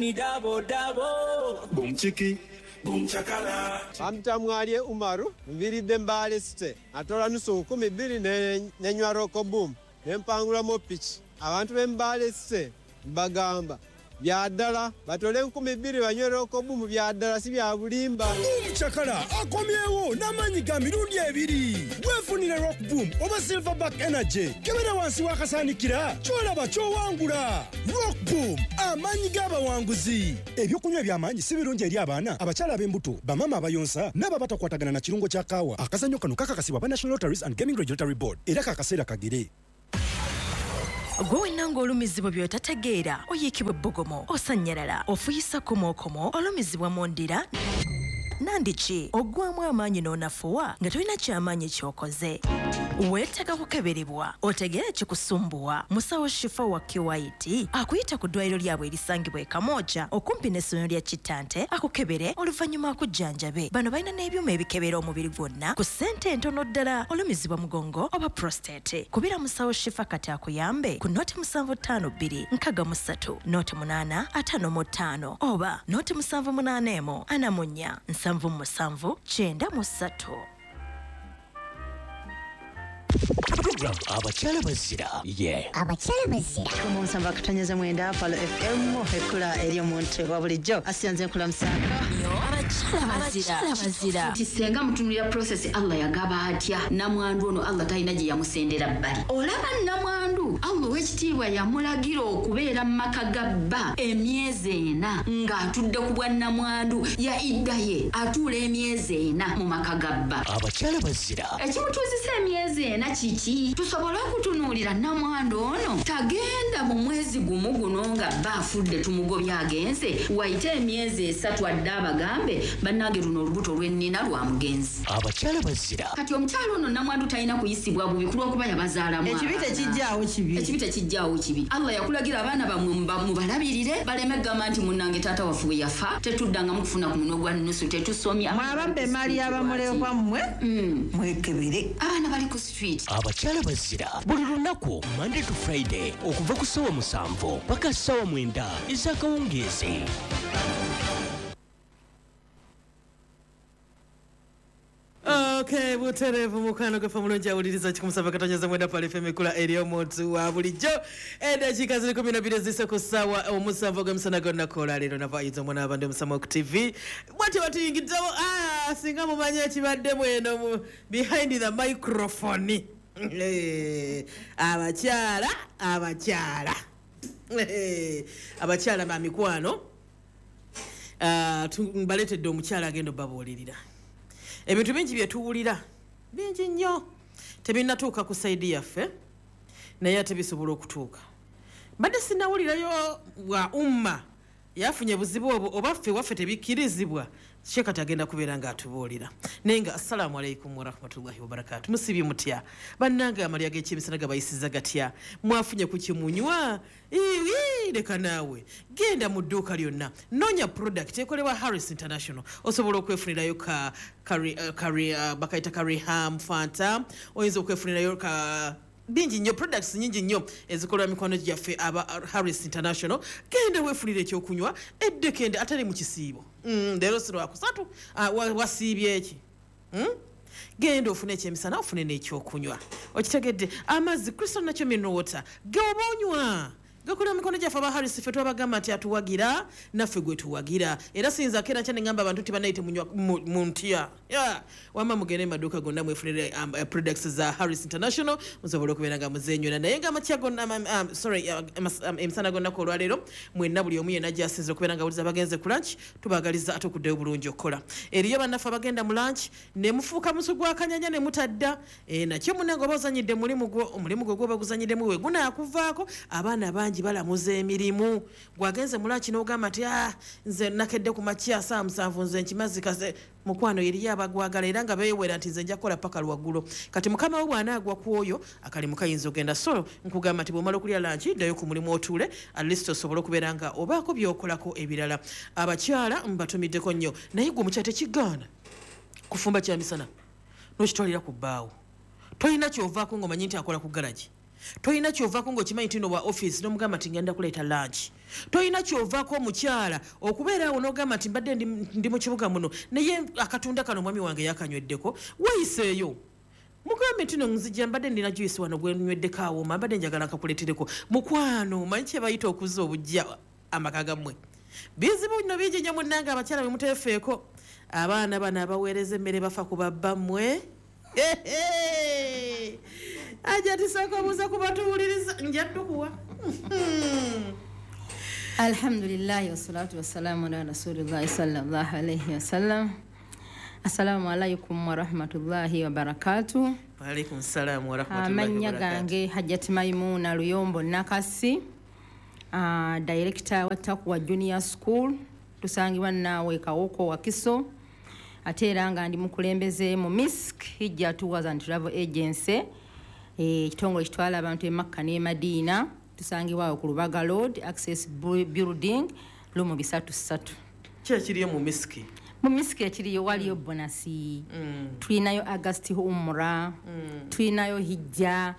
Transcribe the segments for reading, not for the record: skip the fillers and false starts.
Ni double double. Boom chiki, boom chakala. Bampita Mwalye Umaru, nviiridde Mbale City. Atola nusu 2000 nenywa Rock Boom, nempangulamu piki. Abantu b'e Mbale City mbagamba bya ddala, batole 2000 banywe Rock Boom, bya ddala, si bya bulimba. Boom Chakala akomyewo n'amaanyi ga mirundi ebiri. Weefunire Rock Boom oba Silverback Energy. Kebera wansi w'akasaanikira, ky'olaba ky'owangula. Rock Boom, amaanyi g'abawanguzi. Ebyokunywa eby'amaanyi si birungi eri abaana, abakyala ab'embuto, bamaama abayonsa n'abo abatakwatagana na kirungo kya kaawa. Akazannyo kano kakakasibwa aba National Lotteries and Gaming Regulatory Board, era kakaseera kagere. Gwe wenna ng'olumizibwa by'otategeera, oyiikibwa ebbugumu, osannyalala, ofuyisa komookomo, olumizibwa mu ndira nandiki, oggwamu amaanyi n'onafuwa nga tolina kyamaanyi ky'okoze, weetaaga kukeberebwa otegeere ekikusumbuwa. Musawo Shifa wa QIT akuyita ku ddwaliro lyabwe erisangibwa e Kamwokya okumpi n'essomero lya Kittante, akukebere, oluvannyuma akujjanjabe. Bano balina n'ebyuma ebikebera omubiri gwonna ku ssente entono ddala. Olumizibwa mugongo oba prostate, kubira musawo Shifa kati akuyambe ku 0752 63 08 55 oba 078 44 77 93. Program Abakyala Bazira ye. Abakyala Bazira. 7.9 Palo FM, ekkula eri omuntu wa bulijjo. Asiyanze nkulamusaako. Abakyala Bazira, Bazira. Nti senga mutunulira process, Allah yagaba atya namwandu ono? Allah talina gye yamusendera bbali. Olaba namwandu, Allah ow'ekitiibwa yamulagira okubeera mu maka ga bba emyezi 4 ng'atudde ku bwa namwandu. Ya idda ye atuula emyezi 4 mu maka ga bba. Abakyala Bazira. Ekimutuuzisa emyezi 4 kiki? Tusobole okutunuulira namwandu ono tagenda mu mwezi gumu guno nga bba afudde, tumugobye agenze, wayite emyezi 3 adde abagambe, "Bannange, luno olubuto lwennina lwa mugenzi." Abakyala Bazira. Kati omukyalo ono namwandu talina kuyisibwa bubi kulwokuba yabazaalamu Ekibi abaana. Tekijjaawo kibi. Ekibi tekijjaawo kibi. Allah yakulagira abaana bammwe mubalabirire, baleme kugamba nti, "Munnange, taata waffe bwe yafa tetuddangamu kufuna ku munwe gwa nnusu, tetusomye." Mwababba emaali y'abamulekwa mmwe, mwekebere. Abaana bali ku street. Abakyala Bazira buli lunaku Monday to Friday okuva ku ssaawa 7 paka ssaawa 9 ez'akawungeezi. Okay, butereevu, mukwano gweffe omulungi awuliriza 107.9 Pal FM, ekula eri omuntu wa bulijjo. Eddakiika ziri 12 zise ku ssaawa 7 ogw'emisana g'olunaku olwaleero. Nava ayinza omwana w'abandi omusama ku TV bwatyo batuyingiddewo. Ah, singa mumanyi ekibaddemu eno mu behind the microphone. Abakyala, abakyala, abakyala ba mikwano. Ah, mbaleetedde omukyala agenda obabuulirira ebintu bingi byetuwulira, bingi nnyo tebinnatuuka ku side yaffe, naye ate bisobola okutuuka. Mbadde sinawulirayo bwa umma yafunye buzibu obwo, oba ffe waffe tebikkirizibwa. Kye kati agenda kubeera ng'atubuulira. Naye nga assalaamu alaikum warahmatullahi wabarakatu. Musibye mutya bannange? Amalya g'ekyemisana gabayisiza gatya? Mwafunye ku kimunywa? Iwi, leka naawe, genda mu dduuka lyonna, noonya product ekolebwa Harris International, osobola okwefunirayo ka bakayita kariham Fanta, oyinza okwefunirayo ka bingi nnyo, products nyingi nnyo ezikolwa mikwano gyaffe aba Harris International. Genda weefunire ekyokunywa eddekende atali mu kisiibo. Leero si lwakusatu, ah, wasiibye eki? Genda ofune ekyemisana, ofune n'ekyokunywa. Okitegedde? Amazzi Crystal Natural Mineral Water geoba onywa gakolera mikono gyaffe aba Harris. Ffe twabagamba nti atuwagira naffe gwe tuwagira, era siyinza keera nkya neŋŋamba abantu nti banaye temunywa mu ntya. Yeah. Wamma mugende mu maduuka gonna mwefunire products za Harris International, musobole okubeera nga muzenywera. Naye nga amakya gonna, sorry, emisana gonnaku olwaleero, mwenna buli omu yenna gyasinzira okubeera nga awuliza, bagenze ku lunch, tubaagaliza ate okuddayo bulungi okukola. Eriyo bannaffe abagenda mu lunch ne mufuuka musu gwa kanyanya ne mutadda. Nakyo munange oba ozanyidde mulimu gwo, omulimu gwo gwoba guzanyiddemu we gunaakuvaako. Abaana bangi balamuza emirimu. Gwagenze mu lunch n'ogamba nti, "Ah, nze nakedde ku makya saa 7, nze nkimazi kaze." Mukwano, eriyo abagwagala era nga beewera nti, "Nze nja kukola paka lwaggulo." Kati mukama we bw'anaagwa ku oyo, akalimu kayinza ogenda. So nkugamba nti bw'omala okulya lunch, ddayo ku mulimu otuule, at least osobole okubeera nga obaako by'okolako ebirala. Abakyala mbatumiddeko nnyo. Naye gwe omukyala, tekigaana kufumba kyamisana n'okitwalira ku bbaawo. Tolina kyovaako ng'omanyi nti akola ku garagi. Toyina kyovaako ng'okimanyi nti no wa office n'omugamba nti ngenda kuleeta lunch. Toyina kyovaako omukyala okubeera awo n'ogamba nti mbadde ndi mu kibuga muno naye akatunda kano omwami wange yakanyweddeko. Weeyiseeyo, mugambe nti no nzijja mbadde ndina juice wano gwe nyweddeko awooma, mbadde njagala nkakuleetereko. Mukwano, manyi kye bayita okuzza obujja amaka gammwe. Bizibu bino bingi nnyo munnange abakyala bwe muteefeeko. Abaana bano abaweereza emmere bafa ku babbammwe. Ajja tisooka obuuza ku batuwuliriza, nja ddukuwa. Alhamdulillahi wassalatu wassalamu ala rasulillahi sallallahu alayhi wasallam. Assalamu alaikum warahmatullahi wabarakatuh. Wa alaikum salam warahmatullahi Amannya wabarakatuh. gange Hajjat Maimuna Luyombo Nakasi, director wa Takwa Junior School, tusangibwa naawe Kawoko Wakiso. Ate era nga ndi mukulembeze mu MISC Hijja Tours and Travel Agency, ekitongole ekitwala abantu e Makka ne Madina. Tusangibwa awo ku Lubaga Road, Access Building, lumu 33. Ki ekiriyo mu MISC? Mu MISC ekiriyo waliyo bonasi, tulinayo August Umrah, tulinayo Hijja.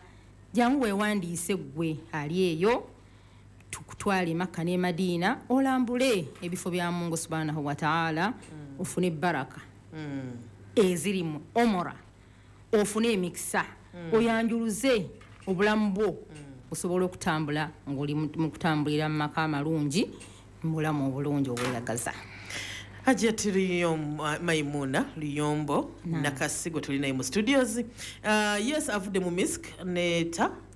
Jangu weewandiise ggwe ali eyo, tukutwale Makka ne Madina, olambule ebifo bya Mungu subhanahu wa ta'ala, ofune baraka eziri mu Umrah, ofune emikisa, oyanjuluze obulamu bwo, osobole okutambula ng'oli mu kutambulira mu maka amalungi, mu bulamu obulungi obweyagaza. Hajjat Maimuna Luyombo Nakasi gwe tuli naye mu studios. Yes, avudde mu MISC ne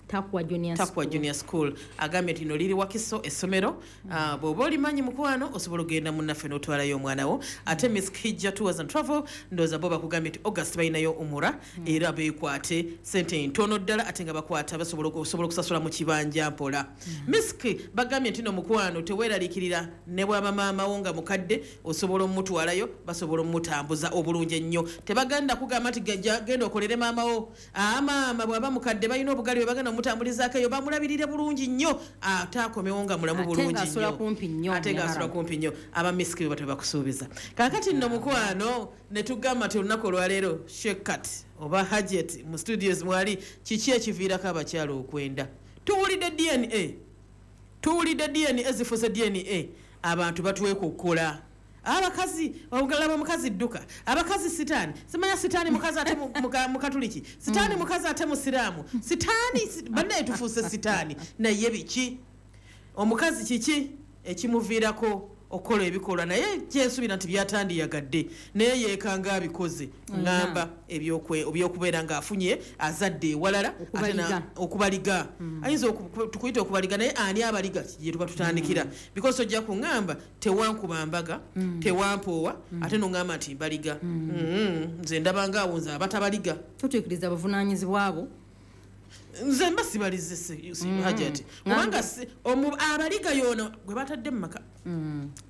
Takwa Junior Takwa School. Junior School. Agambye nti no liri Wakiso essomero. Bw'oba olimanyi mukwano osobola okugenda munnaffe n'otwalayo omwana wo. Ate MISC Hijja Tours and Travel ndowooza bo bakugambye nti August balinayo Umrah, era beekwate sente ntono ddala ate nga bakwata basobola osobola okusasula mu kibanja mpola. MISC bagambye nti no mukwano teweeraliikirira, ne bw'aba maama wo nga mukadde osobola omutwalayo, basobola omutambuza obulungi ennyo. Tebagenda kugamba nti genda okolere maama wo. Maama bw'aba mukadde balina obugali bwe bagenda omutambulizaako eyo, bamulabirire bulungi nnyo ate akomewo nga mulamu Ate bulungi ng'asula nnyo. kumpi nnyo Ate ng'asula mu haram. kumpi nnyo. Aba MISC bwe batyo bakusuubiza. Kaakati nno mukwano ne tugamba nti olunaku olwaleero Shekat oba Hajjat mu studios mwali, kiki ekiviirako abakyala okwenda? Tuwulidde DNA, tuwulidde DNA zifuuse DNA, abantu batwekokkola. Abakazi olaba omukazi dduka, abakazi sitaani, simanya sitaani mukazi ate mukatuliki, sitaani mukazi ate musiraamu, sitaani bannaye tufuuse sitaani. Naye biki omukazi kiki ekimuviirako okukola ebikolwa naye kyensuubira nti byatandiyagadde naye yeekanga abikoze? Ŋŋamba ebyokubeera ng'afunye azadde ewalala ate Okubaliga. Okubaliga, ayinza tukuyita okubaliga, naye ani abaliga gye tuba tutandikira? Because ojja kuŋŋamba tewankuba mbaga, tewampoowa, ate noŋŋamba nti mbaliga. Nze ndabanga awo nze abatabaliga Tutuukiriza buvunaanyizibwa bwo. Nze mba sibalize Hajati, kubanga abaliga yono gwe batadde mu maka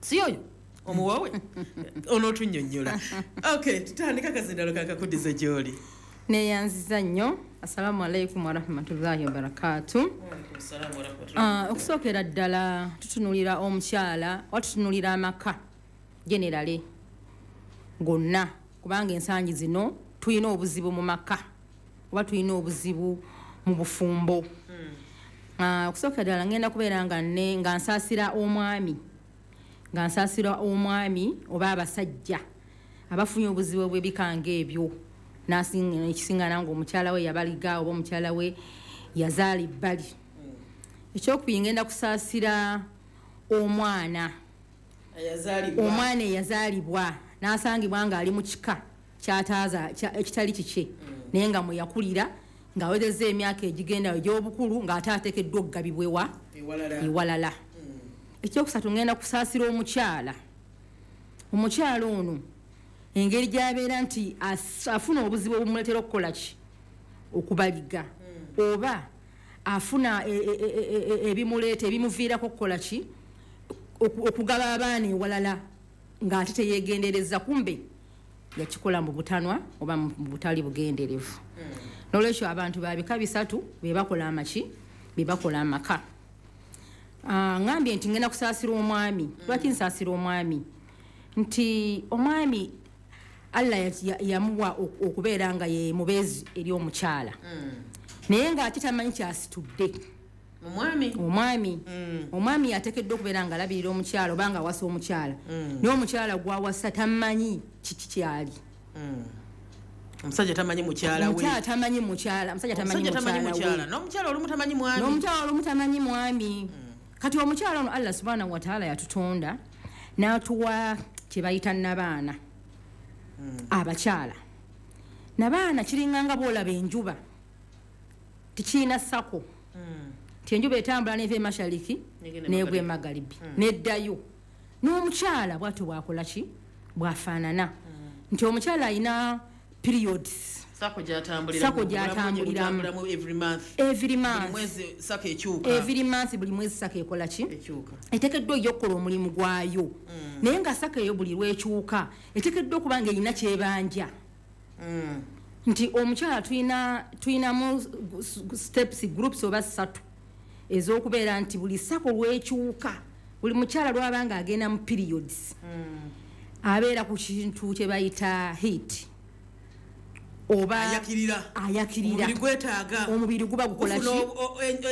si oyo omuwawe onootunnyonnyola. Okay, tutandika akazindalo kakakuddize gy'oli. Neeyanziza nnyo. Assalamu alaikum warahmatullahi wabarakatu. Okusookera ddala tutunulira omukyala oba tutunulira amaka generally gonna, kubanga ensangi zino tulina obuzibu mu maka oba tulina obuzibu mu bufumbo. Okusookera ddala ngenda kubeera nga nsaasira omwami, nga nsaasira omwami oba abasajja abafunye obuzibu bw'ebikanga ebyo, ekisingana ng'omukyala we yabaliga oba omukyala we yazaala ebbali. Ekyokubiri, ngenda kusaasira omwana, omwana eyazaalibwa n'asangibwa ng'ali mu kika kyataaza ekitali kikye, naye nga mwe yakulira ng'awezezza emyaka egigenda egy'obukulu ng'ate ateekeddwa okugabibwa ewalala. Ekyokusatu, ngenda kusaasira omukyala. Omukyala ono engeri gy'abeera nti afuna obuzibu obumuleetera okukola ki? Okubaliga, oba afuna ebimuleeta ebimuviirako okukola ki? Okugaba abaana ewalala ng'ate teyeegendereza, kumbe yakikola mu butanwa oba mu butali bugenderevu. N'olwekyo abantu ba bika bisatu be bakola amaki, be bakola amaka. Ŋŋambye nti ngenda kusaasira omwami. Lwaki nsaasira omwami? Nti omwami Allah yamuwa okubeera nga ye mubeezi eri omukyala. Naye ng'ate tamanyi kyasitudde. Omwami. Omwami yateekeddwa okubeera ng'alabirira omukyala oba ng'awasa omukyala. Naye omukyala gw'awasa tamanyi kiki kyali. Omusajja tamanyi mukyala we. Omukyala tamanyi mukyala, omusajja tamanyi mukyala we. N'omukyala olumu tamanyi mwami. N'omukyala olumu tamanyi mwami. Kati omukyala ono Allah subhanahu wa ta'ala yatutonda n'atuwa kye bayita nabaana. Abakyala. Nabaana kiringa nga bw'olaba enjuba. Tekirina sako. Nti enjuba etambula n'eva emashariki n'egwa emagalibi n'eddayo. N'omukyala bw'atyo bw'akola ki? Bw'afaanana. Nti omukyala alina periods. Sako gy'atambuliramu every month. Every month. Buli mwezi sako ekyuka. Every month buli mwezi sako ekola ki? Ekyuka. Eteekeddwa okukola omulimu gwayo. Naye nga sako eyo buli lw'ekyuka eteekeddwa okuba ng'erina ky'ebanja. Nti omukyala tulinamu steps groups oba ssatu ez'okubeera nti buli sako lw'ekyuka buli mukyala lw'aba ng'agenda mu periods abeera ku kintu kye bayita heat. Oba ayakirira. Omubiri guba gukola ki?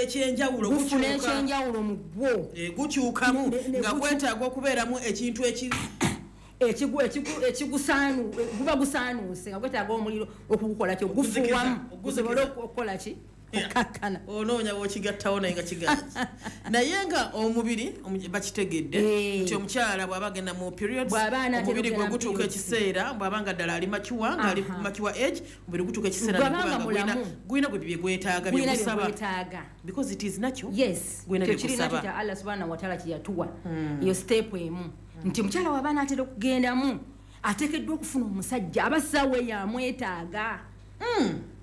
Ekyenjawulo gufuna ekyenjawulo mu gwo. Gukyukamu nga gwetaaga okubeeramu ekintu ekigusaanu guba gusaanuuse nga gwetaaga omuliro okugukola ki? Ogufuuwamu gusobole okukola ki? Okukakkana. Onoonya w'okigattawo naye nga kigaanyi. Naye nga omubiri bakitegedde nti omukyala bw'aba agenda mu periods, omubiri gwe gutuuka ekiseera bw'aba nga ddala ali mature, nga ali mature age, omubiri gutuuka ekiseera ne gulina gwe bye gwetaaga bye gusaba. Because it is natural. Yes. Gwina bye gusaba. Kyo Allah subhanahu wa ta'ala kye yatuwa. Iyo step emu. Nti omukyala w'aba anaatera okugendamu ateekeddwa okufuna omusajja aba ssaawa yamwetaaga.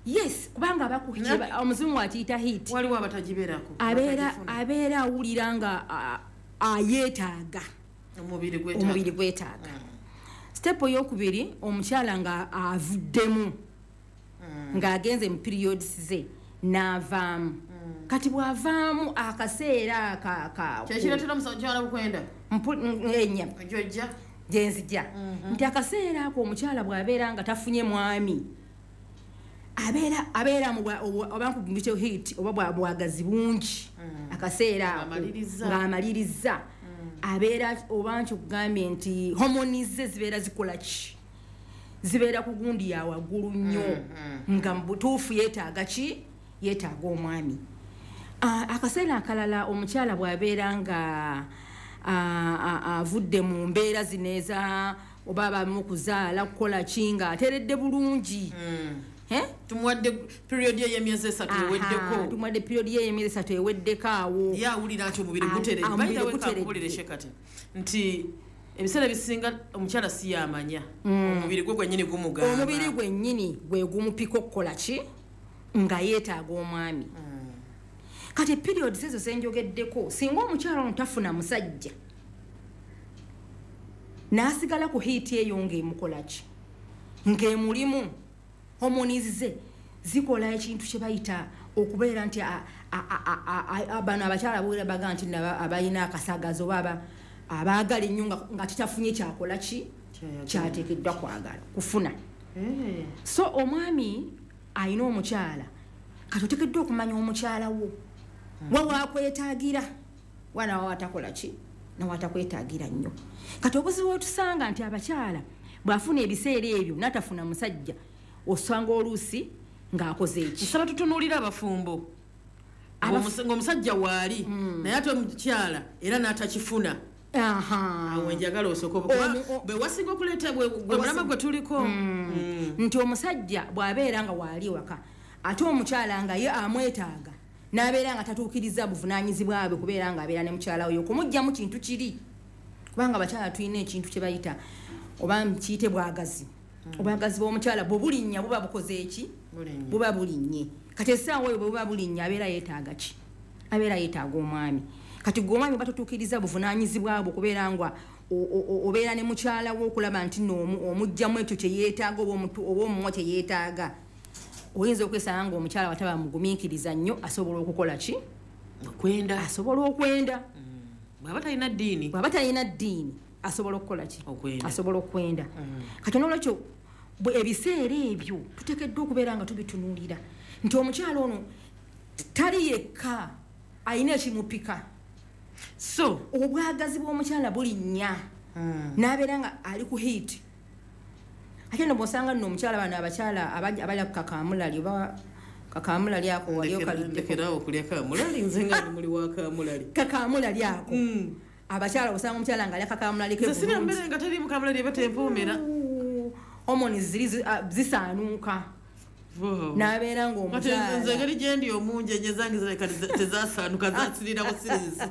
Yes, kubanga omuzungu akiyita heat. Waliwo abatagibeerako. Abeera awulira nga ayeetaaga. Omubiri gwetaaga. Step ey'okubiri omukyala nga avuddemu ng'agenze mu periods ze n'avaamu. Kati bw'avaamu akaseera kyekireetera omukyala okwenda? Enya. Gyenzija. Nti akaseera ako omukyala bw'abeera nga tafunye mwami abeera oba nkugambye heat oba bwagazi bungi akaseera ng'amaliriza abeera oba nkugambye nti hormones ze zibeera zikola ki? Zibeera ku gundi ya waggulu nnyo nga mu butuufu yeetaaga ki? Yeetaaga omwami. Akaseera akalala omukyala bw'abeera nga avudde mu mbeera zino eza oba abamu kuzaala kukola ki nga ateredde bulungi. Tumuwadde period ye y'emyezi esatu eweddeko. Tumuwadde period ye y'emyezi esatu eweddeko awo. Ye awulira nti omubiri guteredde. By the way, kankubulire Shekati nti ebiseera ebisinga omukyala si yamanya. Omubiri gwe gwennyini gumugamba. Omubiri gwennyini gwe gumupika okukola ki? Nga yeetaaga omwami. Kati periods ezo ze njogeddeko singa omukyala ono tafuna musajja n'asigala ku heat eyo ng'emukola ki? Ng'emulimu hormones ze zikola ekintu kye bayita okubeera nti bano abakyala boera baga nti abalina akasagazo oba abaagala ennyo nga titafunye kyakola ki? Kyateekeddwa kwagala kufuna. So omwami alina omukyala kati oteekeddwa okumanya omukyala wo wa wakwetaagira wana watakola ki nawatakwetaagira nnyo. Kati obuzibu otusanga nti abakyala bw'afuna ebiseera ebyo n'atafuna musajja osanga oluusi ng'akoze eki. Nsaba tutunuulire abafumbo. Ng'omusajja waali naye ate omukyala era n'atakifuna. Awo njagala osooke bwe wasinga okuleeta gwe mulama gwe tuliko. Nti omusajja bw'abeera nga waali waka ate omukyala nga ye amwetaaga n'abeera nga tatuukiriza buvunaanyizibwa bwe kubeera ng'abeera ne mukyala we okumuggyamu kintu kiri. Kubanga abakyala tulina ekintu kye bayita oba kiyite bwagazi. Obwagazi bw'omukyala bwe bulinnya buba bukoze eki? Buba bulinnye. Kati essaawa eyo bwe buba bulinnya abeera yeetaaga ki? Abeera yeetaaga omwami. Kati gwe omwami oba totuukiriza buvunaanyizibwa bwe kubeera nga obeera ne mukyala wo okulaba nti nno omuggyamu ekyo kye yeetaaga oba omuwa kye yeetaaga. Oyinza okwesanga ng'omukyala wataba mugumiikiriza nnyo asobola okukola ki? Okwenda. Asobola okwenda. Bw'aba talina ddiini. Bw'aba talina ddiini asobola okukola ki? Asobola okwenda. Kati n'olwekyo Ebiseera ebyo tuteekeddwa okubeera nga tubitunuulira nti omukyala ono tali yekka, alina ekimupika. So obwagazi bw'omukyala bulinnya n'abeera nga ali ku heat. Ate nno bw'osanga nno omukyala, bano abakyala abalya ku kakamulali oba kakamulali ako wali okaliddeko? Ndekerawo okulya kamulali, nze nga ndi muli wa kamulali. Kakamulali ako, abakyala, osanga omukyala nga alya kakamulali ke Nze sirya bulungi. Mmere nga teriimu kamulali eba tempuumira. Hormones ziri zisaanuuka n'abeera Kati nze ng'omukyala engeri gyendi omungi enye zange zirabika tezasaanuka, zasirira busirizi.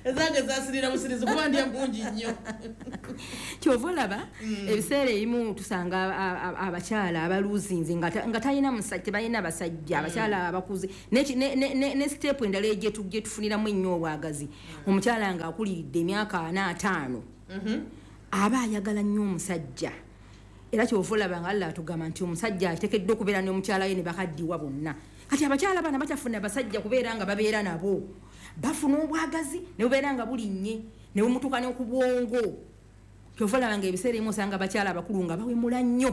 Ezange zasirira busirizi kuba ndya mungi nnyo. Kyova olaba ebiseera ebimu tusanga abakyala abaluzinze nga talina musajja, tebalina basajja, abakyala abakuze. Ne step endala gyetufuniramu ennyo obwagazi, omukyala ng'akuliridde emyaka 45 aba ayagala nnyo omusajja. Era kyova olaba nga Allah atugamba nti omusajja ateekeddwa okubeera n'omukyala we ne bakaddiwa bonna. Kati abakyala bana bakyafuna abasajja kubeera nga babeera nabo, bafuna obwagazi ne bubeera nga bulinnye ne bumutuuka ne ku bwongo. Kyova olaba nga ebiseera ebimu osanga abakyala abakulu nga bawemula nnyo.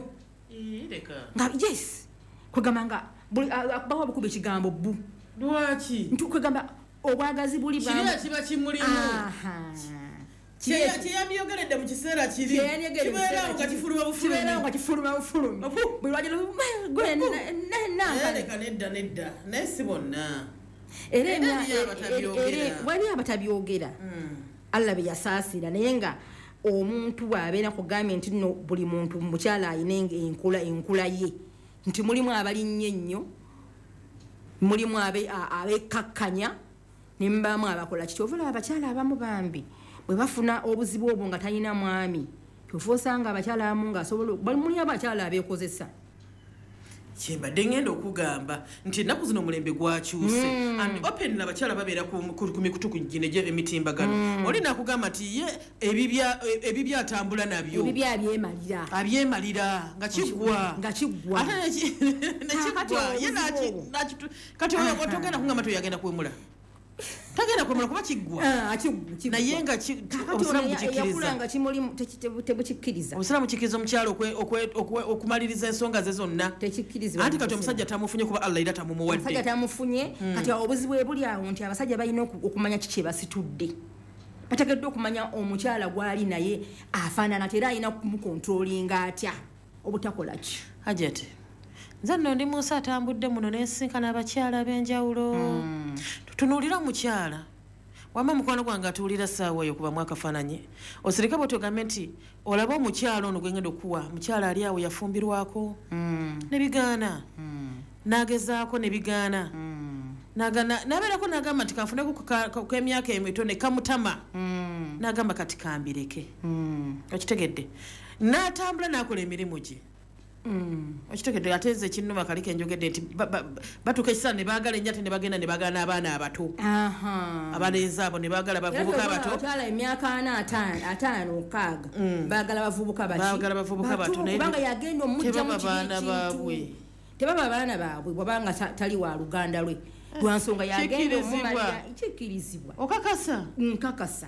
Leka. Nga yes, kwegamba nga bawa bukuba ekigambo bu. Lwaki? Nti kwegamba obwagazi buli Kiri kiba kimulimu. Aha. Kyeyandyogeredde mu kiseera kiri kibeerawo nga kifuluma bufulumi. Kibeerawo nga kifuluma bufulumi. Buli lwagira gwe Naye leka, nedda, nedda, naye si bonna. Era Era eriyo abatabyogera. Wali abatabyogera, Allah bye yasaasira. Naye nga omuntu bw'abeera, kugambye nti nno buli muntu mukyala alina enkula ye, nti mulimu abalinnya ennyo, mulimu abekkakkanya, ne mubaamu abakola kiki. Ova olaba abakyala abamu bambi bwe bafuna obuzibu obwo nga talina mwami, kyova osanga abakyala abamu ng'asobola mulimu abakyala abeekozesa. Kyembadde ngenda okugamba nti ennaku zino omulembe gwakyuse and open, abakyala babeera ku mikutu gino emitimbagano. Oli nakugamba nti ye ebibya atambula nabyo. Ebibya abyemalira. Abyemalira nga kiggwa. Nga kiggwa. Ate Kaakati nekiggwa ye obuzibu obwo. kati oyo togenda kugamba nti oyo agenda kuwemula, tagenda kuwemula kuba kiggwa. Ah, kiggwa. Naye nga Kaakati obusiraamu ono bukikkiriza. eyakula nga kimulimu tebukikkiriza. Obusiraamu kikkiriza omukyala okumaliriza ensonga ze zonna? Tekikkirizibwa Anti mu kati Busiraamu. omusajja tamufunye kuba Allah era tamumuwadde. Omusajja tamufunye. Kati awo obuzibu bwe buli awo nti abasajja balina okumanya kiki kyebasitudde. Bateekeddwa okumanya omukyala gw'ali naye afaanana ate era alina kumukontrolinga atya obutakola ki. Hajati, nze nno ndi munsi atambudde muno nensinkana abakyala ab'enjawulo. Tutunuulira omukyala wamma, mukwano gwange atuwulira ssaawa eyo, kubamu akafaananyi osirike bwe tugambe nti olaba omukyala ono gwengenda okuwa, mukyala ali awo yafumbirwako ne bigaana, n'agezaako ne bigaana, n'abeerako n'agamba nti kanfuneko k'emyaka emito ne kamutama, n'agamba kati kambireke. Okitegedde? N'atambula n'akola emirimu gye. Okitegedde? Ate nze ekinnuma kali kenjogedde nti batuuka ekiseera ne baagala ennyo, ate ne bagenda ne baagala n'abaana abato, abalenzi abo ne baagala bavubuka abato. Abakyala emyaka 40, 50, 50, 60 baagala bavubuka baki? Baagala bavubuka bato, naye kubanga yagenda omugjamu tebaba kiri baana ekintu. baabwe. Tebaba baana baabwe bwabanga tali wa luganda lwe, lwansonga yagenda Kikkirizibwa. omumalira. Kikkirizibwa. Okakasa? Nkakasa,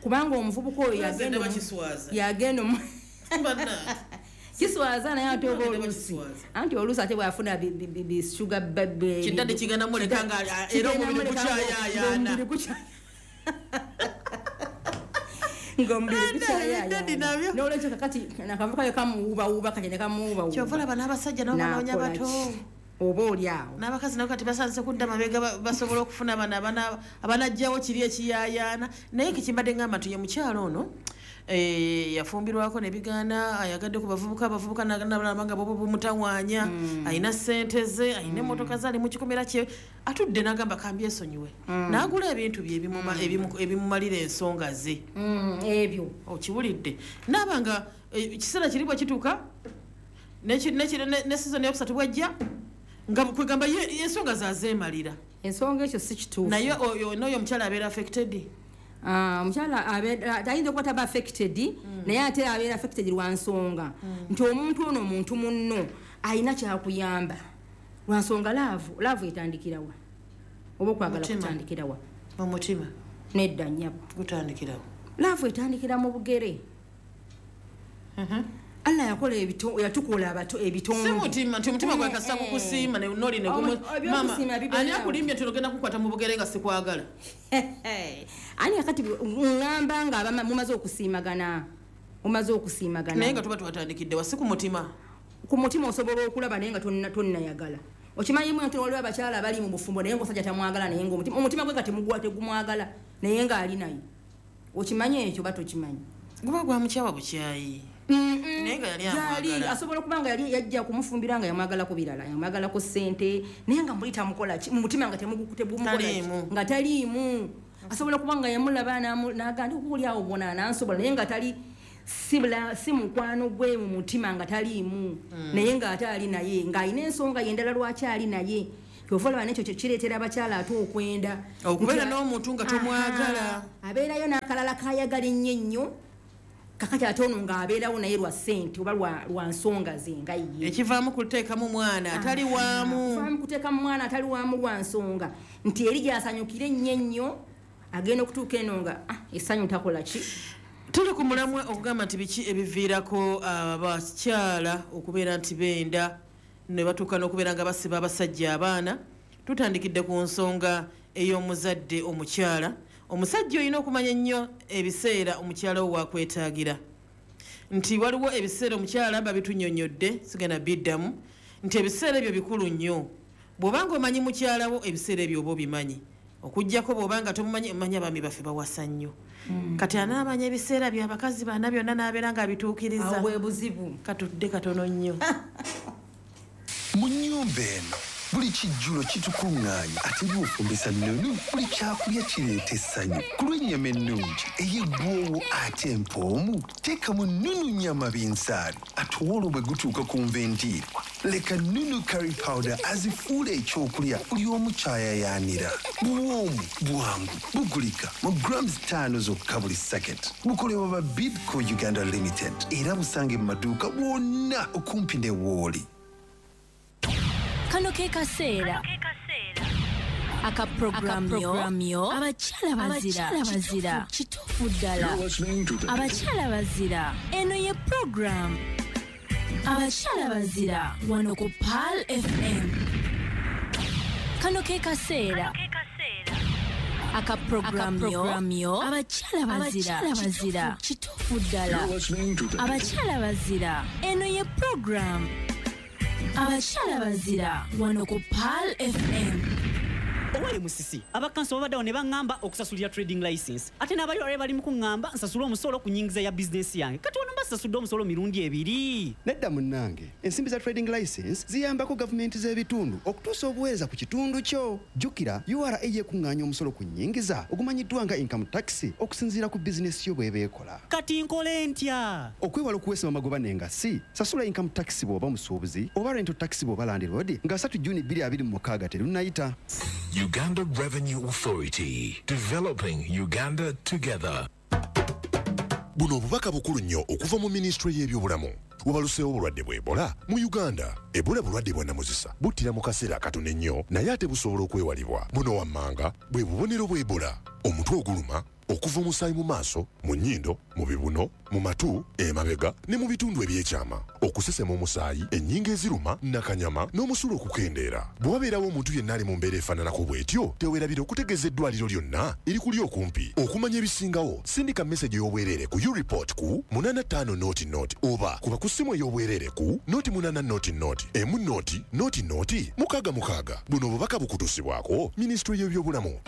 kubanga omuvubuka oyo Nze yagenda ndaba kiswaza. Yagenda Bannange. Kiswaza, naye ate oba Ndaba oluusi kiswaza. anti oluusi ate bwafuna bisugar Kiddadde kigenda muleka nga era omubiri gukyayaayaana. Ng'omubiri Ebidadi nabyo. gukyayaayaana. Nolwekyo kakati nakavuka kamuwuubawuuba kati ne kamuwuubawuuba. Kyova olaba n'abasajja nabo banoonya N'akola bato. ki? Oba oli awo. N'abakazi nabo kati basanze kudda mabega, basobole okufuna bano abanajjawo kiri ekiyaayaana. Naye kikimbadde ngamba nti ye mukyalo ono yafumbirwako nebigaana, ayagadde ku bavubuka, abavubuka nalaba nga bobo bumutawaanya, alina sente ze, alina emmotoka ze, ali mu kikomera kye atudde, n'agamba kambyesonyiwe, n'agula ebintu bye ebimumalira ensonga ze. Ebyo. Okiwulidde? Naaba nga ekiseera kiri bwe kituuka ne season eyokusatu bwejja nga kwegamba ensonga zazeemalira. Ensonga ekyo si kituufu. Naye oyo n'oyo omukyala abeera affected? Ah, omukyala ayinza okuba taba affected, naye ate abeera affected lwa nsonga nti omuntu ono muntu munno alina kyakuyamba. Lwa nsonga love etandikirawa oba okwagala Mutima. kutandikirawa? Mu mutima. Nedda nnyabo. Gutandikirawo. Love etandikira mu bugere. Allah yakola yatukola abato ebitonde. Si mutima nti omutima gwe kasita kukusiima ne noli ne gumu. Mama, ani akulimbye tulogenda kukwata mu bugere nga sikwagala? Ani akati ngamba nga mumaze okusiimagana. Mumaze okusiimagana. Naye nga tuba twatandikidde wasi ku mutima. Ku mutima osobola okulaba naye nga tonnayagala. Okimanyi mwe nti waliwo abakyala abali mu bufumbo naye ng'omusajja tamwagala naye ng'omutima omutima gwe kati mugwa tegumwagala naye ng'ali naye. Okimanyi ekyo bato kimanyi. Guba gwa mukyawa bukyayi. Naye nga yali amwagala. Asobola okuba nga yali yajja kumufumbira nga yamwagala ku birala, yamwagala ku ssente, naye nga muli tamukola ki, mu mutima nga tegumukola ki, nga taliimu. Asobola okuba nga yamulaba n'agamba okuli awo bona anansobola naye nga tali si mukwano gwe mu mutima nga taliimu. Naye ng'ate ali naye, ng'alina ensonga ye endala lwaki ali naye. Kyova olaba n'ekyo kireetera abakyala ate okwenda. Okubeera n'omuntu nga tomwagala. Abeerayo n'akalala k'ayagala ennyo ennyo. Kakati ate ono ng'abeerawo naye lwa ssente oba lwa nsonga ze nga ye. Ekivaamu kuteekamu mwana atali waamu. Ekivaamu kuteekamu mwana atali waamu lwa nsonga. Nti eri gy'asanyukira ennyo ennyo agenda okutuuka eno nga essanyu takola ki. Tuli ku mulamwa okugamba nti biki ebiviirako abakyala okubeera nti benda ne batuuka n'okubeera nga basiba abasajja abaana. Tutandikidde ku nsonga ey'omuzadde omukyala. Omusajja olina okumanya ennyo ebiseera omukyala wo wakwetaagira. Nti waliwo ebiseera omukyala babitunnyonnyodde, sigenda biddamu, nti ebiseera ebyo bikulu nnyo. Bw'obanga omanyi mukyala wo ebiseera ebyo oba obimanyi. Okuggyako bw'obanga tomumanyi, omanyi abaami baffe bawasa nnyo. Kati anaamanya ebiseera by'abakazi bana byonna n'abeera ng'abituukiriza. Awo bwe buzibu. Katudde katono nnyo. Mu nnyumba eno buli kijjulo kitukuŋŋaanya ate bw'ofumbisa nnunu buli kyakulya kireeta essanyu. Ku lw'ennyama ennungi ey'eggwoowo ate empoomu teekamu nnunu nnyama binsaali ate olwo bwe gutuuka ku nva endiirwa leka nnunu curry powder azifuula ekyokulya buli omu kyayayaanira. Buwoomu bwangu bugulika mu grams 5 zokka buli sacket. Bukolebwa ba Bidco Uganda Limited era busange mu maduuka wonna okumpi ne wooli. Kano ke kaseera aka programu yo abakyala bazira kituufu ddala abakyala bazira. Eno ye program abakyala bazira wano ku Pearl FM. Kano ke kaseera aka programu yo abakyala bazira kituufu ddala abakyala bazira. Eno ye program abakyala bazira wano ku Pearl FM. Owali musisi abakanso babaddewo ne baŋŋamba okusasulira trading license ate n'abayore bali mu kuŋŋamba nsasule omusolo ku nnyingiza ya bizinesi yange. Kati wano mbasasudde omusolo mirundi ebiri. Nedda munnange, ensimbi za trading license ziyambako gavumenti z'ebitundu okutuusa obuweereza ku kitundu kyo. Jjukira URA yekuŋŋaanya omusolo ku nnyingiza ogumanyiddwa nga income tax okusinziira ku bizinesi yo bw'eba ekola. Kati nkole ntya? Okwewala okuweesebwa amagoba n'engassi, sasula income tax bw'oba musuubuzi oba rental tax bw'oba landlord nga 3 Juni 2026 terunnayita. Uganda Revenue Authority, developing Uganda together. Buno obubaka bukulu nnyo okuva mu minisitule y'ebyobulamu. Wabaluseewo obulwadde bwa Ebola mu Uganda. Ebola bulwadde bwa nnamuzisa, buttira mu kaseera akatono ennyo naye ate busobola okwewalibwa. Buno wammanga bwe bubonero bwa Ebola: omutwe oguluma, okuva omusaayi mu maaso, mu nnyindo, mu bibuno, mu matu, emabega ne mu bitundu ebyekyama, okusesema omusaayi, ennyingo eziruma, nakanyama n'omusulo okukendeera. Bwe wabeerawo omuntu yenna ali mu mbeera efaananako bw'etyo, teweerabira okutegeeza eddwaliro lyonna erikuli okumpi. Okumanya ebisingawo, sindika meseji ey'obwereere ku ureport ku 85 00 oba kuba ku ssimu ey'obwereere ku 08 00 10 00 66. Buno obubaka bukutuusibwako minisitule y'ebyobulamu.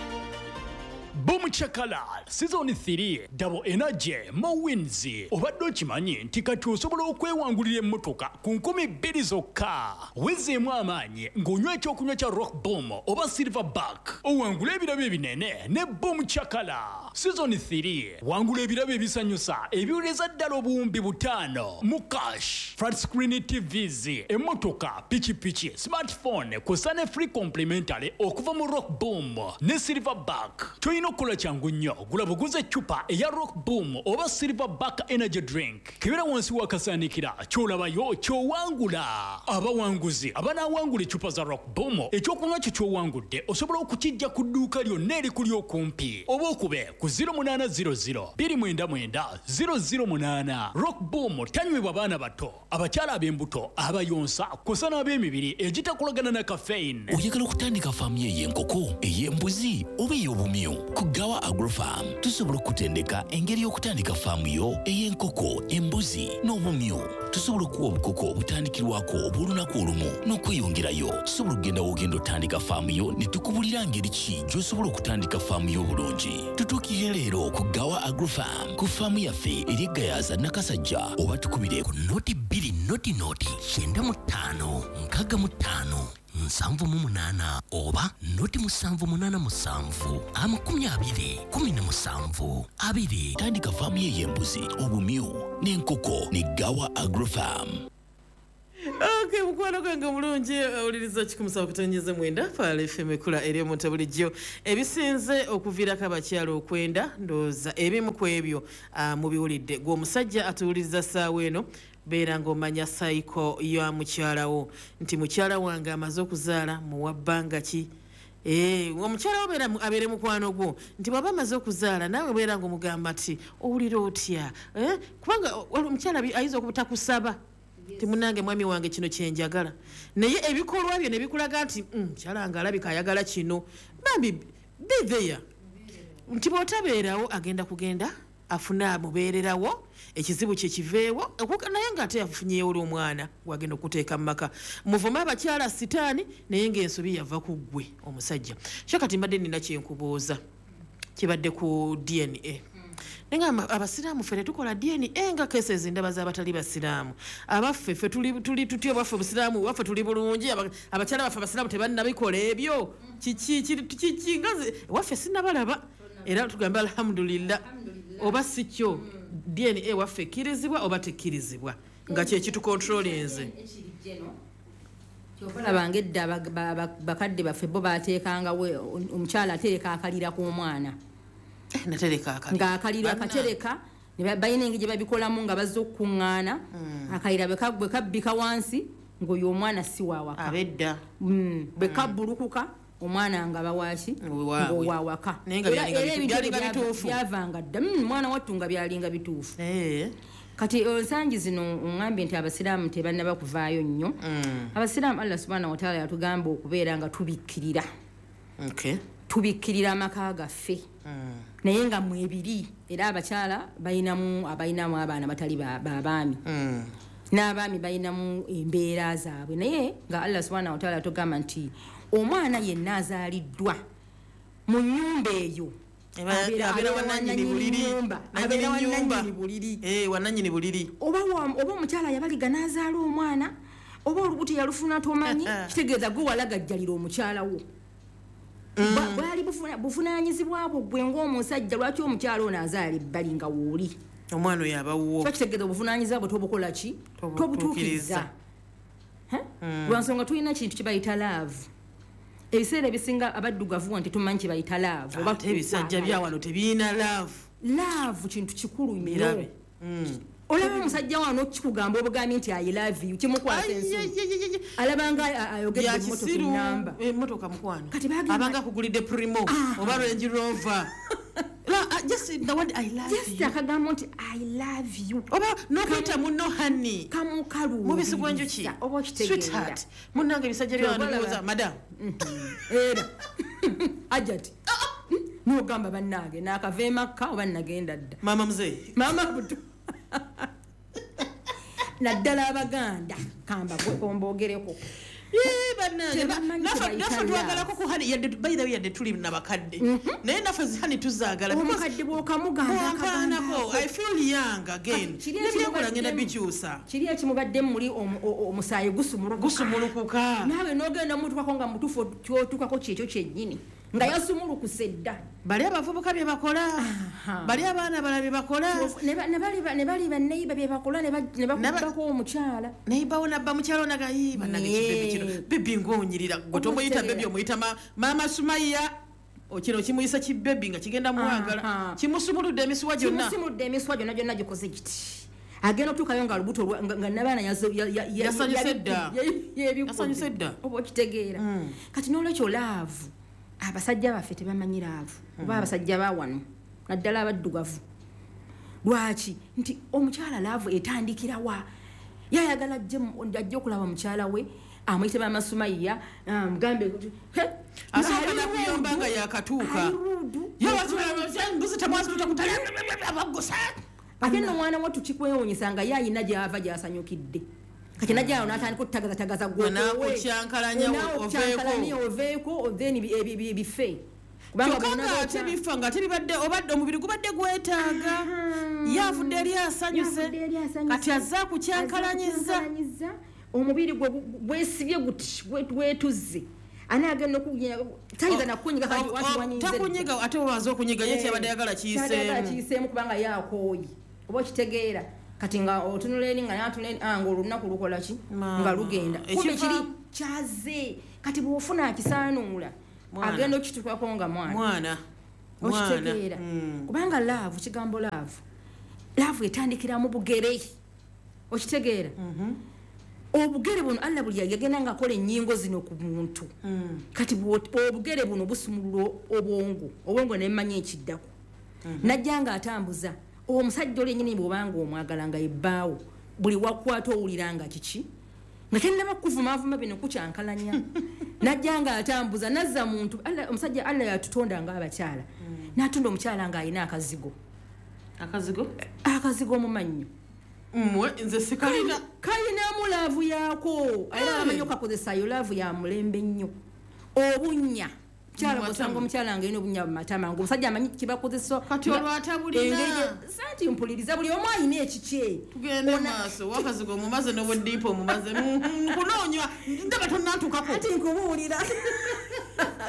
Boom Chakala Season 3 Double Energy Mo Wins. Obadde okimanyi nti kati osobola okwewangulira emmotoka ku 2000 zokka. Wezeemu amaanyi ng'onywa ekyokunywa kya Rock Boom oba Silverback. Owangula ebirabo ebinene ne Boom Chakala Season 3. Wangula ebirabo ebisanyusa ebiwereza ddala obuwumbi 5 mu cash, flat screen TVs, emmotoka, pikipiki, smartphone kw'ossa ne free complimentary okuva mu Rock Boom ne Silverback. Toyina okukola kyangu nnyo, gula buguze eccupa eya Rock Boom oba Silverback Energy Drink. Kebera wansi w'akasaanikira ky'olabayo ky'owangula. Abawanguzi abanaawangula eccupa za Rock Boom, ekyokunywa kyo ky'owangudde osobola okukijja ku dduuka lyonna erikuli okumpi oba okube ku ku 0800 299 008. Rock Boom tanywebwa baana bato, abakyala ab'embuto, abayonsa kw'ossa n'ab'emibiri egitakolagana na caffeine. Oyagala okutandika faamu yo ey'enkoko, ey'embuzi oba ey'obumyu? Ku Gawa Agrofarm tusobola okutendeka engeri y'okutandika faamu yo ey'enkoko, embuzi n'obumyu. Tusobola okuwa obukoko obutandikirwako obw'olunaku olumu n'okweyongerayo. Tusobola okugenda w'ogenda otandika faamu yo ne tukubulira ngeri ki gy'osobola okutandika faamu yo obulungi. Tutuukire leero ku Gawa Agrofarm ku faamu yaffe eri e Gayaza Nakasajja, oba tukubire ku 0 2 0 0 95 65 78 oba 0 787 20 17 2. Tandika faamu ye ey'embuzi, obumyu n'enkoko ne Gawa Agrofarm. Okay, mukwano gwange omulungi owuliriza 107.9 Pearl FM, ekula eri omuntu bulijjo. Ebisinze okuviirako abakyala okwenda, ndowooza ebimu ku ebyo mubiwulidde. Gwe omusajja atuwuliriza ssaawa eno, beera ng'omanya cycle ya mukyalawo, nti mukyala wange amaze okuzaala muwa bbanga ki? Omukyala wo abeere mukwano gwo, nti bw'aba amaze okuzaala naawe beera ng'omugamba nti owulira otya? Kubanga omukyala ayinza okubutakusaba ti munange mwami wange kino kyenjagala, naye ebikolwa byo ne bikulaga nti mukyala nga alabika ayagala kino. Bambi be there, nti bw'otabeerawo agenda kugenda afune amubeererawo, ekizibu kye kiveewo. Naye ng'ate yafunyeewo oli omwana gwagenda okuteeka mu maka. Muvume abakyala sitaani, naye ng'ensobi yava ku ggwe omusajja. Kyo kati mbadde nina kyenkubuuza kibadde ku DNA, naye nga abasiraamu ffe tetukola DNA, nga cases ndaba z'abatali basiraamu. Abaffe ffe tuli tutya? Bwaffe busiraamu waffe tuli bulungi, abakyala baffe abasiraamu tebannabikola ebyo. Kiki kiki nga waffe sinnabalaba, era tugambe alhamdulillah oba si kyo? DNA waffe ekkirizibwa oba tekkirizibwa, nga kyekitukontrolinze? Kyova olabanga edda bakadde baffe bo bateekangawo omukyala atereka akalira k'omwana. Natereka akalira. Ng'akaliro akatereka, balina engeri gye babikolamu nga bazze okukuŋŋaana, akalira bwe kabbika wansi ng'oyo omwana si waawaka. Abedda. Bwe kabbulukuka omwana nga bawaki? Wewaabwe. Ng'owawaka. Naye nga byalinga bituufu. Byavanga dda. Mwana wattu nga byalinga bituufu. Kati ensangi zino oŋŋambye nti abasiraamu tebannaba kuvaayo nnyo. Abasiraamu, Allah subhanahu wataala yatugamba okubeera nga tubikkirira, tubikkirira amaka gaffe, naye nga mwebiri era abakyala balinamu, abalinamu abaana batali babaami, n'abaami balinamu embeera zaabwe, naye nga Allah subhanahu wataala tugamba nti omwana yenna azaaliddwa mu nnyumba eyo abeera abeera wananyini buliri. Nnyumba, Nannyini abeera nnyumba. wananyini buliri. Wananyini buliri. Oba omukyala yabaliga n'azaala omwana, oba olubuto yalufuna tomanyi, kitegeeza gwe walagajjalira omukyala wo. Bwali buvunaanyizibwa bwo gwe ng'omusajja. Lwaki omukyala ono azaala ebbali nga wooli? Omwana oyo abawuwo. Kiba kitegeeza obuvunaanyizibwa bwe tobukola ki? Tobutuukiriza. Tobutuukiriza. Lwansonga tulina kintu kibayita love. Ebiseera ebisinga abaddugavu wano tetumanyi kibayita love oba Ate ebisajja bya wano tebiyina love. Love kintu kikulu nnyo. Birabe. Olaba omusajja wano kikugamba obugambi nti "I love you", kimukwata ensonyi, alabanga ayogedde Bya emmotoka kisiru. enamba. Emmotoka mukwano. Kati bagamba- Abanga akugulidde Premio oba Range Rover. Just the word "I love Just you". akagambo nti "I love you" Oba n'okuyita munno honey. Kamukaluubiriza. Mubisi gw'enjuki. Oba okitegeera. Sweetheart. Munnange ebisajja bya wano Kyova olaba- biwoza madam. Era ajati nogamba bannange nakava emakka oba nagenda dda. Maama muzeeyi. Maama buto, naddala abaganda kamba ombogereko. Yee, bannange, Tebamanyi kye naffe bayita twagalako ku honey, yadde by the way yadde tuli nabakadde, naye naffe zi honey tuzaagala because Omukadde bw'okamugamba bw'ompaanako, akagambo I feel young again. Kiri Nebyenkola ngenda ekimubaddemu- bikyusa. Kiri ekimubaddemu muli omusaayi gusumulukuka. Gusumulukuka. Naawe n'ogenda mutukako nga mutuufu kyotukako kyekyo kyennyini nga yasumulukuse dda. Bali abavubuka bye bakola, bali abaana bala bye bakola. Ne bali baneiba bye bakola, ne bakubako omukyala. Neibawo nabba mukyalo nagayi bannange. Kibebi kino, baby ng'onyirira gwe tomuyita baby, omuyita maama Sumaya. Kino kimuyisa kibebi nga kigenda mwagala, kimusumuludde emisuwa gyonna. Kimusumuludde emisuwa gyonna gyonna, gikoze kiti, agenda otuukayo nga lubuto nga nabaana Yasanyuse dda. yebikudde. Yasanyuse dda. Oba okitegeera. Kati n'olwekyo love, abasajja baffe tebamanyi love, oba abasajja ba wano Naddala abaddugavu. Lwaki? Nti omukyala love etandikira wa? Yayagala ajje okulaba mukyala we, amuyite Maama Sumayiya, amugambe asooka nakuyomba nga yakatuuka. Ate nno omwana wo tukikwewuunyisa nga ye ayina gy'ava gy'asanyukidde. Kati najja awo n'atandika okutagazatagaza N'akukyankalanya oveeko, then bife. Kyokka ng'ate bifa nga tebibadde, obadde omubiri gubadde gwetaaga. Ye avudde eri asanyuse, kati azze akukyankalanyiza. Omubiri gwe gwesibye guti, gwetuzze. Anaagenda okukunyiga, tayinza nakunyiga kati wati wanyize. Takunyiga, ate obanza okunyiga ye kyabadde ayagala kiyiseemu. Kyabadde kiyiseemu kubanga ye akooye. Oba okitegeera. Kati nga otunula eri nga n'atunula eri, nga olunaku lukola ki? Nga lugenda. Kumbe kiri kyaze. Kati bw'ofuna akisaanuula, agenda okituukako nga mwana. Mwana. Okitegeera. Kubanga love, kigambo love. Love etandikira mu bugere. Okitegeera. Obugere buno Allah buli yagenda ng'akola ennyingo zino ku muntu. Kati obugere buno busumulula obwongo. Obwongo ne mmanya ekiddako. Najja ng'atambuza. Omusajja oli yennyini bw'obanga omwagala nga yebbaawo, buli wakwata owulira nga kiki? Nga tennaba kuvumaavuma bino kukyankalanya. Najja ng'atambuza, nazza muntu. Omusajja Allah yatutonda ng'abakyala. N'atonda omukyala ng'alina akazigo. Akazigo? Akazigo mu mannyo. Mmwe nze sikalina. Kalinamu love yaako. Era amanyi okakozesa yo love ya mulembe nnyo. Obunnya. Mukyala bw'osanga omukyala ng'alina obunnya mu matama, ng'omusajja amanyi kibakozesa. Kati olwo atabulina. Santi mpuliriza, buli omu alina ekikye. Tugende maaso, wakazigo omumaze n'obudiipa omumaze. Nkunoonya, ndaba tonnantuukako. Ati nkubuulira.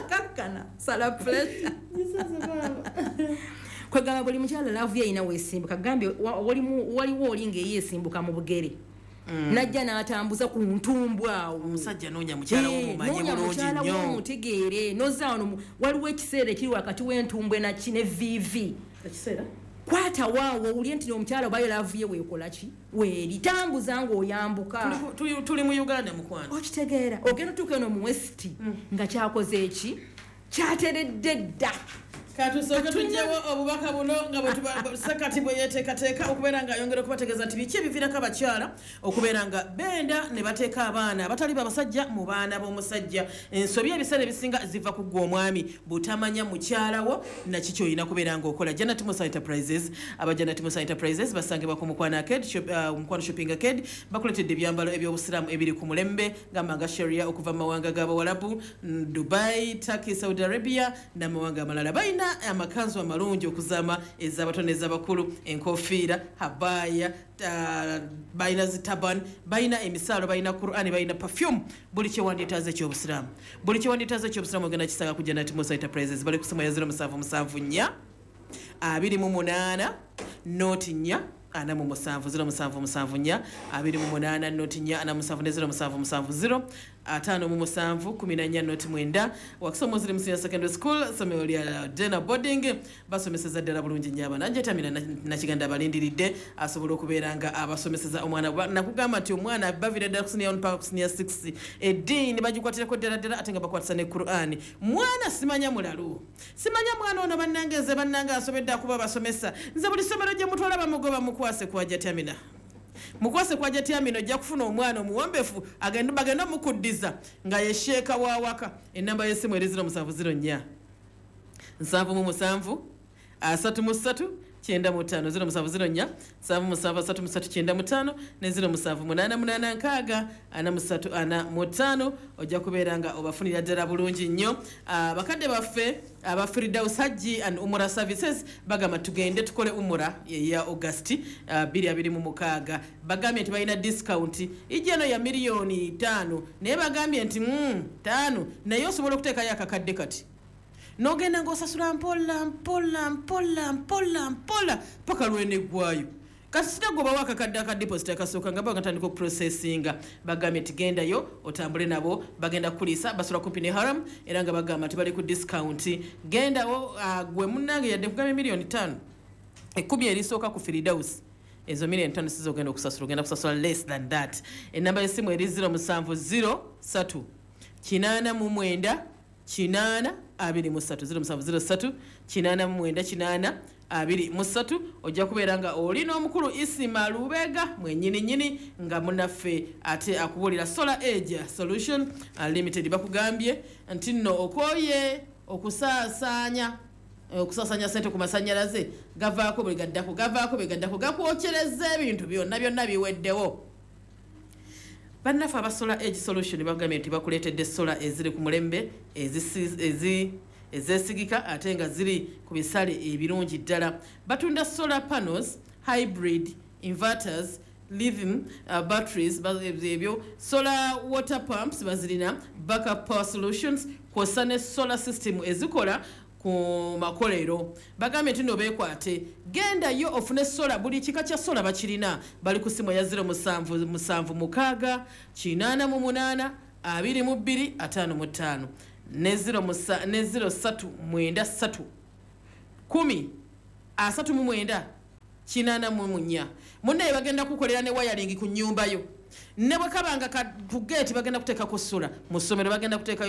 Kakkana, sala pressure. Kwegamba buli mukyala love ye alina weesimbuka. Gambye waliwo oli ng'eyeesimbuka mu bugere. Najja n'atambuza ku ntumbwe awo. Omusajja noonya mukyala wo mumanye bulungi nnyo. Omutegeere. Nozza wano waliwo ekiseera ekiri wakati w'entumbwe na ki ne VV. Ekiseera? Kwata waawo owulire nti omukyala oba yo love ye weekola ki? Weeri. Tambuza ng'oyambuka. Tuli mu Uganda mukwano. Okitegeera. Ogenda otuuka eno mu West nga kyakoze eki? Kyateredde dda. Katusooke tuggyewo obubaka buno nga bwe Ssekati bwe yeeteekateeka okubeera ng'ayongera okubategeeza nti biki ebiviirako abakyala okubeera nga benda ne bateeka abaana abatali babasajja mu baana b'omusajja. Ensobi ebiseera ebisinga ziva ku ggwe omwami butamanya mukyala wo na kiki olina kubeera ng'okola. Janet Musa Enterprises, aba Janet Musa Enterprises basangibwa ku Mukwano Arcade, Mukwano Shopping Arcade, bakuleetedde ebyambalo eby'obusiraamu ebiri ku mulembe gamba nga Sharia okuva mu mawanga g'Abawalabu, Dubai, Turkey, Saudi Arabia n'amawanga amalala. Balina amakanzu amalungi okuzaama ez'abato n'ez'abakulu, enkofiira, habaya, balina zitaban, balina emisaalo, balina Qur'ani, balina perfume, buli kyewandyetaaze ekyobusiraamu. Buli kyewandyetaaze ekyobusiraamu ogenda kisanga ku Janet Musa Enterprises. Bali ku ssimu ya 0774 28 04 47 0774 28 04 47 ne 0770 57 14 09. Wakiso Muslim Senior Secondary School, ssomero lya Dena Boarding, basomeseza ddala bulungi nnyo abaana. Njetamira Nakiganda abalindiridde asobola okubeera nga abasomeseza omwana. Nakugamba nti omwana baviira ddala ku senior 1 paka ku senior 6, eddiini bagikwatirako ddala ddala ate nga bakwatisa ne Qur'ani. Mwana simanya mulalu, simanya mwana ono bannange, nze bannange asobedde akuba abasomesa. Nze buli ssomero gye mutwala bamugoba, mukwase kwa Jatamina. Mukwase kwa Jatamina ojja kufuna omwana omuwombefu bagenda mukuddiza nga ye sheeka wa waka. Ennamba y'essimu eri 0704 77 33 95, 0704 77 33 95 ne 0788 6 43 45. Ojja kubeera nga obafunira ddala bulungi nnyo. Bakadde baffe aba Firdaus Hajji and Umura Services bagamba tugende tukole Umura ya August 2026. Bagambye nti balina discount ijja eno ya 5 million, naye bagambye nti 5, naye osobola okuteekayo akakadde kati n'ogenda ng'osasula mpola mpola mpola mpola mpola paka lweneggwayo. Kati sitagobawo akakadde aka deposit akasooka nga bagatandika okuprocessinga. Bagambye nti gendayo otambule nabo, bagenda kukuliisa, basula kumpi ne Haram, era nga bagamba nti bali ku discount. Gendawo gwe munnange, yadde nkugambye 5 million 10 erisooka ku Firdaus, ezo 5 million sizo ogenda okusasula, ogenda kusasula less than that. Ennamba y'essimu eri 0703 89 8 23, 0703 89 8 23. Ojja kubeera nga oli n'omukulu Isima Lubega mwennyini nnyini nga munaffe ate akubuulira Solar Age Solution Limited. Bakugambye nti nno okooye okusaasaanya sente ku masannyalaze, gavaako bwe gaddako, gavaako bwe gaddako, gakwokyereza ebintu byonna byonna biweddewo. Bannaffe aba Solar Age Solution bagambye nti bakuleetedde solar eziri ku mulembe, ezeesigika ate nga ziri ku bisale ebirungi ddala. Batunda solar panels, hybrid inverters, lithium batteries, ebyo solar water pumps bazirina, backup power solutions, kwossa ne solar system ezikola ku makolero. Bagambye nti no beekwate, gendayo ofune solar, buli kika kya solar bakirina. Bali ku simu ya 0776 88 22 55 ne 0 ne 0393 10 39 84. Munnaye bagenda kukolera ne wiring ku nnyumba yo, ne bwe kabanga ku geeti bagenda kuteekako solar, mu ssomero bagenda kuteekayo.